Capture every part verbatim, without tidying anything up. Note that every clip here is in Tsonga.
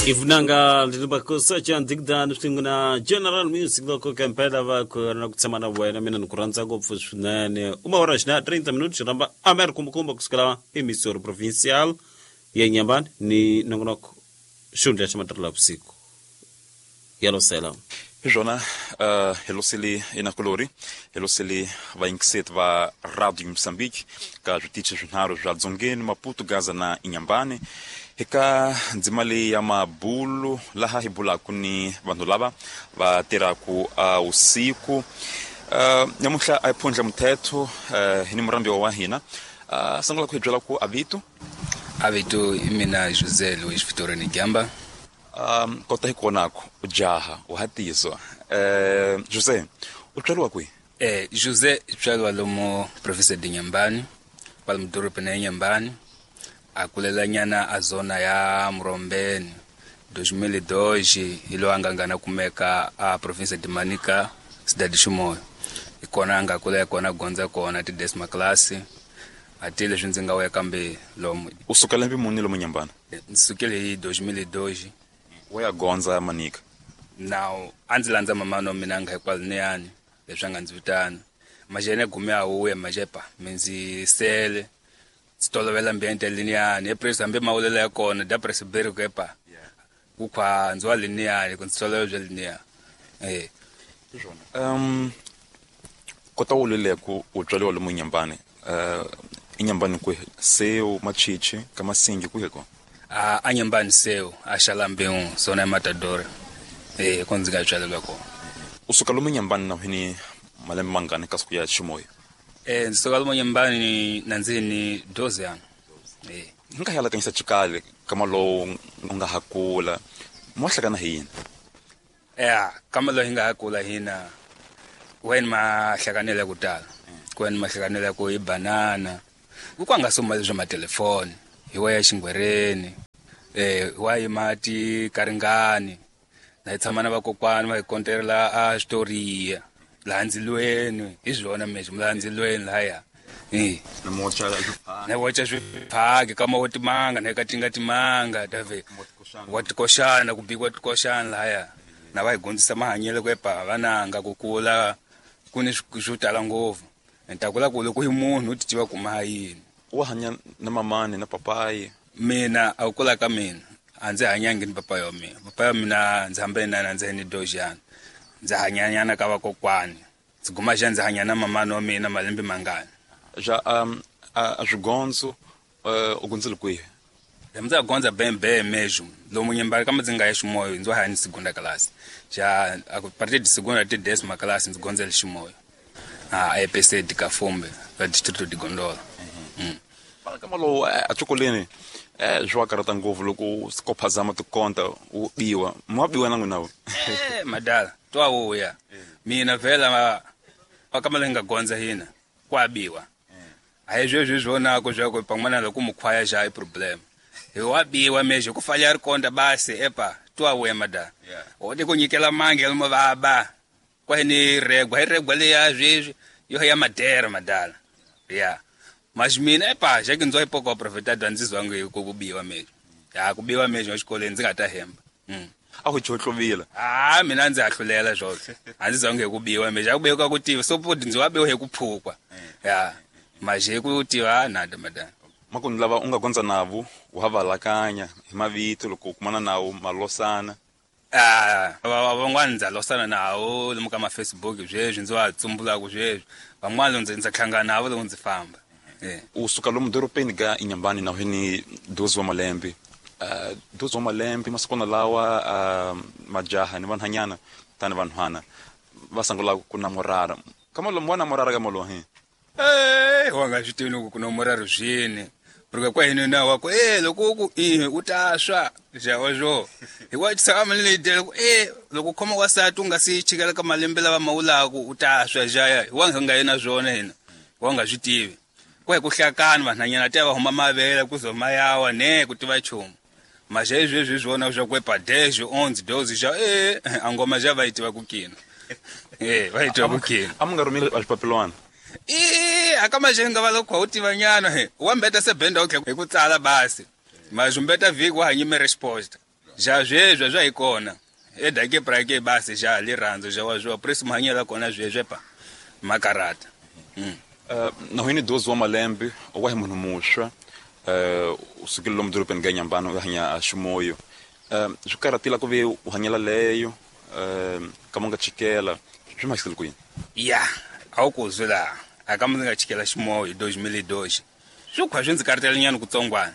Ivunanga lilibakosa ndigda niftinguna General Music loko kempela va ku na ku tshama na wena mina ni ku rhandza ngopfu swinene uma hora xina thirty minutes ramba Amer kumbukumba kusukela emisoro provincial ya Nyambani ni nongonoko xundla xa matirhelo ya vusiku yalosela hi swona uh, helosele inakulori helosele vainkiset va Radio Mozambique ka switichi swinharhu swa Dzongeni, Maputo, Gaza na Inhambane eka ndzima leyi ya mabulu laha hi bulaku ni vanhu lava va tirhaku uh, usiku. uh, nyamuhla a hi phundla muthetho uh, hi ni murambiwa wa hina uh, sungula ku hi byela ku avito avito i mina José Luís Vitorino Gamba. Um, kota hi konako ujaha uhatizwa eh José u tswariwa kwihi? Eh José tswariwa lomo province de Inhambane, kwala mudorobeni ya Inhambane, a kulela nyana a zona ya Murombeni. dois mil e dois hi lo anga ngana kumeka a province de Manica, cidade de Chimoio. Ikona anga kula kona gondza kona ti décima classe. Ati leswi ndzi nga wuya kambe lomo. U suka lembe muni lomo Inhambane? Ndzi sukile hi dois mil e dois. Wa ya gondza Manica. Now a ndzi landza mama wa mina nga hikwaloniyani leswi a nga ndzi vitana. Majene gume a wuya majepa mi ndzi sele ndzi tolovela ambiente liniyani epresi hambi mawulela ya kona da presiberi ku epa ku khwa ndzi wa liniyani ku ndzi tolovela bya liniya. Eh um kota wu lele ku u tswariwa lomu Inhambane uh Inhambane kwihi? Seu Machichi ka Masingi kwihi ko? A a Inhambane seu a Xalambeu zona ya Matador. Eh ko ndzi nga tswalelwa kona. U suka lomu Inhambane na hini malembe mangani kasi ku ya Chimoio? Eh ndzi suka lomu Inhambane na ndzi ni doze ano. Eh hi nga yalakanyisa xikali kama lowu u nga ha kula mo hlakana hi yini? Eh kama lowu hi nga ha kula hina wen ma hlakanela ku tala. Kwen ma hlakanela ku i banana. Ku kwa nga soma leswi matelefoni hi wa ya xingwereni eh wa yi mati karingani na hi tshama na vakokwani va hi konterela a switoriya laha ndzilweni hi swona mesho laha ndzilweni lahaya eh na mocha na wacha swiphaki kama wo timanga na katinga timanga dave wa tikoxana ku bikiwa tikoxana lahaya na va hi gondzisa mahanyelo ku epa vananga ku kula ku ni swo tala ngopfu. Nta kula ku loko hi munhu u ti tiva ku ma yini. U hanya na mamani na papayi? Mina a kula ka mina a ndzi hanyangi ni papayi wa mina. Papayi wa mina ndzi hambane na ndzi ni dojana. Ndzi hanyanyana ka vakokwani. Ndzi guma xa ndzi hanya na mamani wa mina malembe mangani. Ja um a swigondzo u gondzile kwihi? Ndzi gondza bembe mesmo. Lomu Inhambane kama ndzi nga ya Chimoio ndzi hanya ni segunda classe. Ja a partir de segunda até décima classe ndzi gondzele Chimoio. A E P C de Cafumbe, la distrito de Gondola. Mm. Para kama lo a chocolene eh jwa karata ngopfu loko skophazama tikonta u biwa. Mwa biwa na n'wina? Eh madala twa wuya. Mina vhela va kama lenga gondza hina kwa biwa. A hi sweswi swona ku swa ku pan'wana loko mukhwaya xa i problem. Hi wa biwa mesho ku falha ri konta basi epa twa wuya madala. O te ku nyikela mange lomu va ba. Kwa ni regwa, hi regwa leya sweswi yo ya madera madala. Yeah. Mas mina epa xa ki ndzo ipoko profeta ndzi zwangu hi ku biwa mesho. Ya ku biwa mesho exikolweni ndzi nga ta hemba. Mm. A ku chohlovile. Ah mina ndzi hahlulela swona. A ndzi zwangu hi ku biwa mesho. A ku biwa ku tiva so podi ndzi wa biwa hi ku phukwa. Ya. Mas hi ku tiva na madala. Makuni lava u nga gondza navo u ha valakanya hi mavito loko u kumana nawo malosana. Ah van'wana ndza losana nawo lomu ka ma Facebook sweswi ndzi wa tsumbulaka sweswi. Van'wana ndzi ndzi hlangana navo loko ndzi famba. Eh u suka lomu dorobeni ka Inhambane na hini doze wa malembe. Uh doze wa malembe masikona lawa uh, majaha ni vanhanyana tani vanhwana va sungula ku namorara. Kama lomu wa namorara ka molo he. Eh wa nga swi tivi loko ku namorara swini. Porque kwa hino na wako eh loko ku eh u ta swa ja ojo. Hi wa tshama ni le loko eh loko khoma wa sati u nga si chikela ka malembe lava mawulaku u ta swa ja ya. Wa nga yena swona hina. Wa nga swi tivi. Kwa ku hlakana vanhanyana ta va huma mavele ku zoma yawa ne ku tiva chumu. Mas hezwi swona swa ku epa dez, onze, doze ja eh angoma ja va yi tiva ku kina. Eh va yi tiva ku kina. A mu nga rhumeli a xipapilwana. Eh akama jenga va loko u tiva nyana he. Wa mbeta se benda u hi ku tsala basi. Mas umbeta vhiki wa hanyime resposta. Ja zwezwo zwa ikona edake prake basi ja liranzo ja wazwo preso mahanyela kona zwezwe pa makarata. Mm. Uh, na hwini doze wa malembe wa hi munhu muxwa uh, usukile lomu dorobeni ka Inhambane u hanya a Ximoyo uh, swi karatila ku ve u hanyela leyo uh, ka mu nga chikela swi mahisile ku yini? Ya a wu ku zwi laha a ka mu nga chikela Ximoyo hi dois mil e dois swi khwa swi ndzi karatela nyana kutsongwana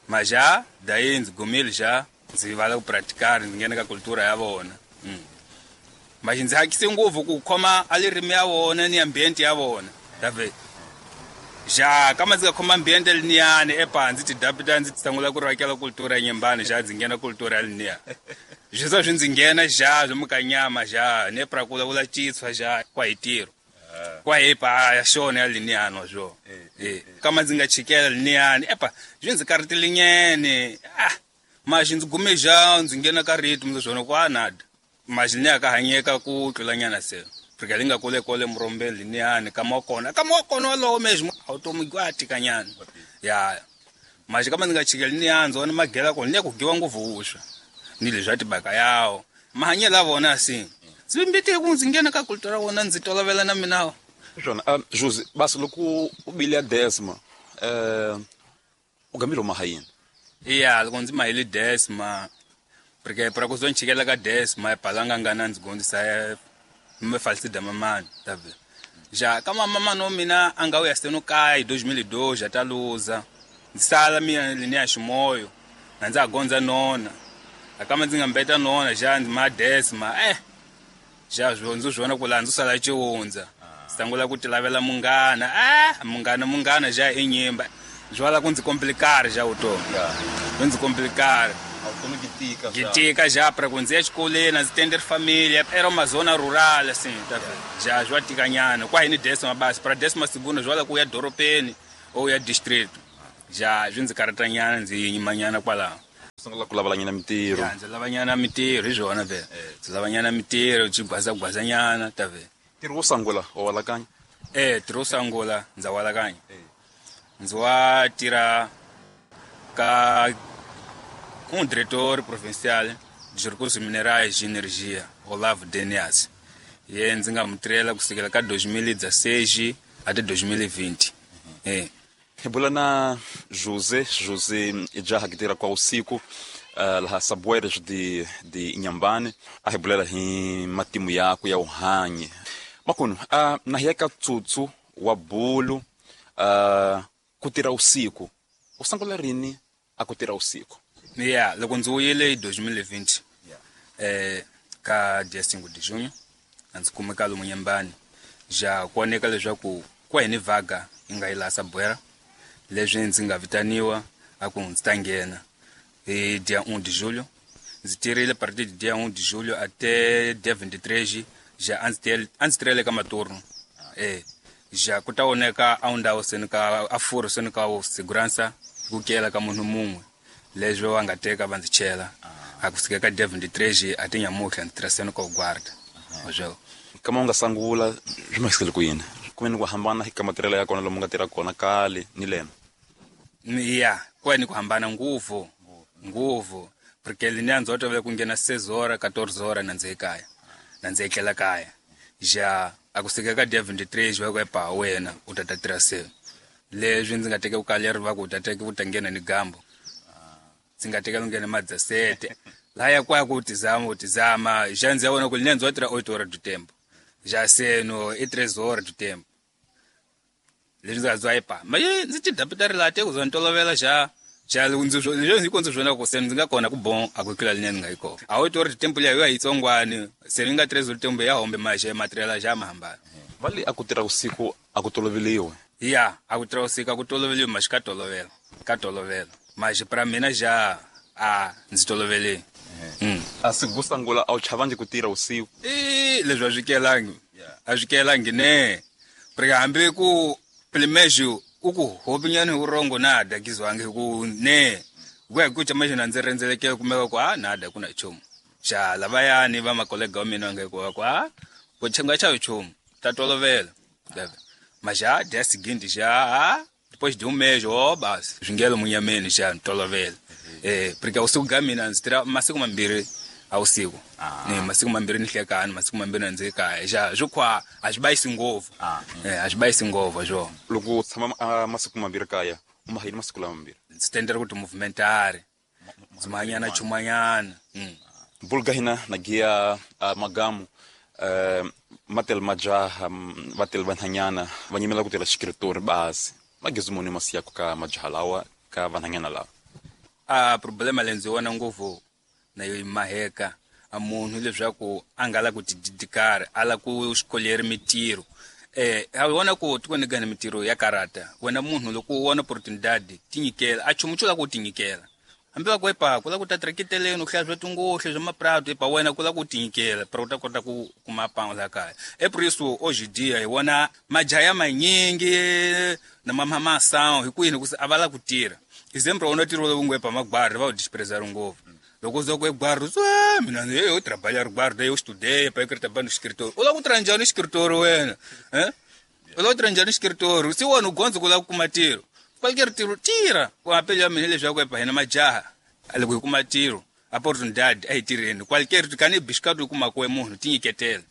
maja dayi ndzi gumile ja ndzi vala ku praticar ndzi nghena ka cultura ya vona. Mm. Mas ndzi hakise ngopfu ku khoma a lirimi ya vona ni ambiente ya vona dave ja kama ndzi nga khoma ambiente liniyani epa ndzi tidapita ndzi sungula ku rakela cultura ya Inhambane ja ndzi nghena cultura ya liniya swi za swi ndzi nghena ja swi mukanyama ja ne pra kula vula chitswa ja kwa hi tiro kwa epa ya xona ya liniyani swo eh kama ndzi nga chikela liniyani epa swi ndzi karatelinyene ah mas ndzi gume ja ndzi nghena ka ritmo swona kwa nada mas ni ka hanyeka ku tlulanyana se porque linga kole kole murombeni liniyani kama kona kama kona lowo mesmo automi tikanyana ya mas kama ndzi nga chikela liniyani ndzona magela kona ni ku giwa ngopfu vuswa ni leswi tibaka yawo mahanyela vona si ndzi mbite ku ndzi nghena ka cultura vona ndzi tolovela na mina swona. Um, Jose basi loko u bile ya décima uh, u gambile mahayini? Ya loko ndzi mahile décima porque para ku zo nchikela ka décima epalanga ngana ndzi gondzisa me falsida mamani tave ja kama mama no mina anga uya seno kai dois mil e dois já ta luza ndzi sala mina linia Ximoyo na ndza gondza nona akama ndzi nga mbeta nona ja ndzi ma décima eh ja zwo ndzi zwona ku la ndzi sala chiundza sangula ku tilavela munghana ah munghana munghana ja enyimba zwala ku ndzi complicar ja utomi yeah. Ndzi complicar vutomi byi tika byi tika ja pra ku ndzi ya xikolweni a ndzi tender familia era uma zona rural assim tá ja zwa tikanyana kwa hini décima basi pra décima segunda zwala ku ya dorobeni ou ya distrito ja swi ndzi karatanyana ndzi yimanyana kwalaho sungula ku lavalanyana mitirho ya ndzi lavanyana mitirho hi swona vele ndzi lavanyana mitirho byi gwazagwazanyana ta vele ntirho wo sungula wa walakanya eh ntirho wo sungula ndza walakanya ndzi wa tirha ka um diretor provincial de recursos minerais e energia Olavo Denias ye ndzi nga mu tirhela kusukela ka dois mil e dezesseis até dois mil e vinte. Eh hi bula na José José jaha que tirha kwa usiku uh, laha Saboeiras de de Inhambane a hi bulela hi matimu yakwe ya uhanye makunu uh, na hiya ka tsutsu wa bulu uh, ku tirha usiku u sungula rini a ku tirha usiku? Ya loko ndzi wuyile hi dois mil e vinte eh ka dia cinco de junho a ndzi kumeka lomu Inhambane ja ku oneka leswaku kwa hini vaga yi nga yi laha Saboeira leswi ndzi nga vitaniwa a ku ndzi ta nghena hi dia um de julho ndzi tirhile partir de dia um de julho até dia vinte e três ja a ndzi a ndzi tirhele ka maturno eh ja ku ta oneka a ndhawu seni ka a furo seni ka segurança ku kela ka munhu mun'we leswi va nga teka va ndzi chela a kusuka ka dia vinte e três até nyamuhla ndzi tirha seni ka guarda oswo kama u nga sungula swi mahisele ku yini kumbe ni ku hambana hi ka matirhelo ya kona lomu nga tirha kona kale ni lena? Ya kwa ni ku hambana ngopfu ngopfu porque liniya ndzi tolovele ku nghena seis horas quatorze horas na ndzi ekaya na ndzi etlela kaya ja a kusuka ka dia vinte e três va ku epa wena u ta ta tirha se leswi ndzi nga teka ku kaleri va ku u ta teka u ta nghena ni gambo ndzi nga teka ku nghena ma dezessete laya kwa ku tizama u tizama ja ndzi ya vona ku liniya ndzi wa tirha oito horas do tempo ja seno i três horas do tempo leswi ndzi nga bya epa ma ndzi ti dapita ri laha te ku za ni tolovela ja ja ndzi ndzi ku ndzi swona ku se ndzi nga kona ku bon a ku tlula linene nga yi kona a oito horas do tempo liya yo yitsongwani se ni nga três horas do tempo ya hombe maje matirhela ja ma hambana va le a ku tirha usiku a ku toloveliwe? Ya a ku tirha usiku a ku toloveliwe mas ka tolovela ka tolovela mas pra mina ja a ndzi tolovele. Mm. A siku ku sungula a wu chavangi ku tirha usiku? I leswi a swi kelangi a swi kelangi ne porque hambi ku primeiro u ku hopinyani urongo nada kizwange ku ne ku ya ku chama na ndzi rhendzelekele kumeka ku a nada ku na nchumu xa lavayani va makolega wa mina nge ku ku a ku chenga cha nchumu ta tolovela mas já dia seguinte já depois de um mês ó basi swi ngelo munyameni xa tolovela Eh porque usiku ga mina ndzi tirha masiku mambirhi a usiku. Ni masiku mambirhi ni hlekani, masiku mambirhi ndzi kaya. Ja swo kwa a swi bayisi ngopfu. Eh a swi bayisi ngopfu swo. Loko u tshama uh, masiku mambirhi kaya, u ma yini masiku lama mambirhi? Ndzi tendera ku ti-movementari. Dzimanyana chumanyana. Mm. Bulga hina na gia uh, magamu uh, matel majaha vatel vanhanyana va nyimela ku tirha xikiritori basi. Magezi muni masiyaku ka majaha lawa ka vanhanyana lawa? A problema leyi ndzi vona ngopfu na yo maheka a munhu leswaku a nga la ku tididikari a la ku xikolleri mitirho. Eh a vona ku tikweni gani mitirho ya karata wena munhu loko u vona opportunity tinyikela a chumu xo la ku tinyikela. Hambi va ku epa ku la ku ta trekiteleni u hlaya swa tingohle swa maprato epa wena ku la ku tinyikela pero u ta kota ku kuma pango la kaya. Epriso hoje dia hi vona majaha ya manyingi na mamasawu hi kwini ku a va la ku tirha. Example wona tirho lowu ngo epa magwari va u disprezar ngopfu. Loko uza ku egwari swa mina eu trabalhar guarda eu estudei para que trabalho no escritório. U la ku tirha njhani escritório wena? Eh? U la ku tirha njhani escritório? Se wena u gondza ku la ku kuma ntirho. Qualquer tiro tira ku apelo ya mina leswaku epa hina majaha loko hi kuma tiro opportunidade a hi tirheni qualquer kani biscato kuma ku munhu tinyiketela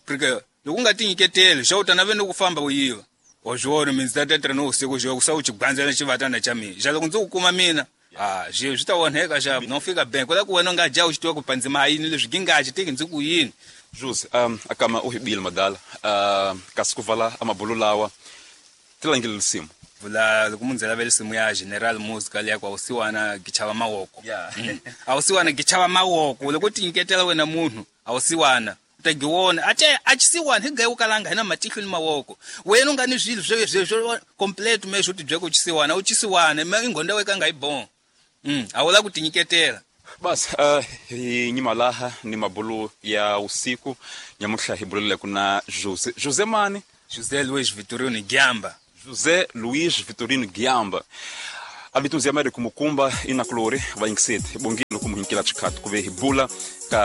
porque loko u nga tinyiketeli xa u ta naveni ku famba u yiva o jona mina ndzi ta tirha no usiku jo ku sa u chigwandzela xivatana xa mina xa loko ndzi ku kuma mina ah swi swi ta onheka xa no fika bank ku la ku wena u nga dya u xi tiva ku pandzima yini leswi gingachi tiki ndzi ku yini. Jose um akama u hibile madala uh, kasi ku vala amabulu lawa tilangile lisimu vula loko munhu lavela simu ya General Music leya ku awusiwana gichava mawoko. Yeah. Mm. Awusiwana gichava mawoko loko tinyiketela wena munhu awusiwana u ta giwona ache achisiwana higaye ukalanga hina matihlo ni mawoko wena u nga ni swilo swo swo complete me swo tibye ku chisiwana u chisiwana me ingonda weka nga ibon. Mm awula ku tinyiketela. Bas uh, hi nyima laha ni mabulu ya usiku nyamuhla hi bulele kuna Jose Jose mani Jose Luiz Vitorino Giamba. José Luiz Vitorino Giamba. Abitunzi ya Américo Mukumba ina kulori va inksete bongilo kumuhinkila chikatu kuve hibula ka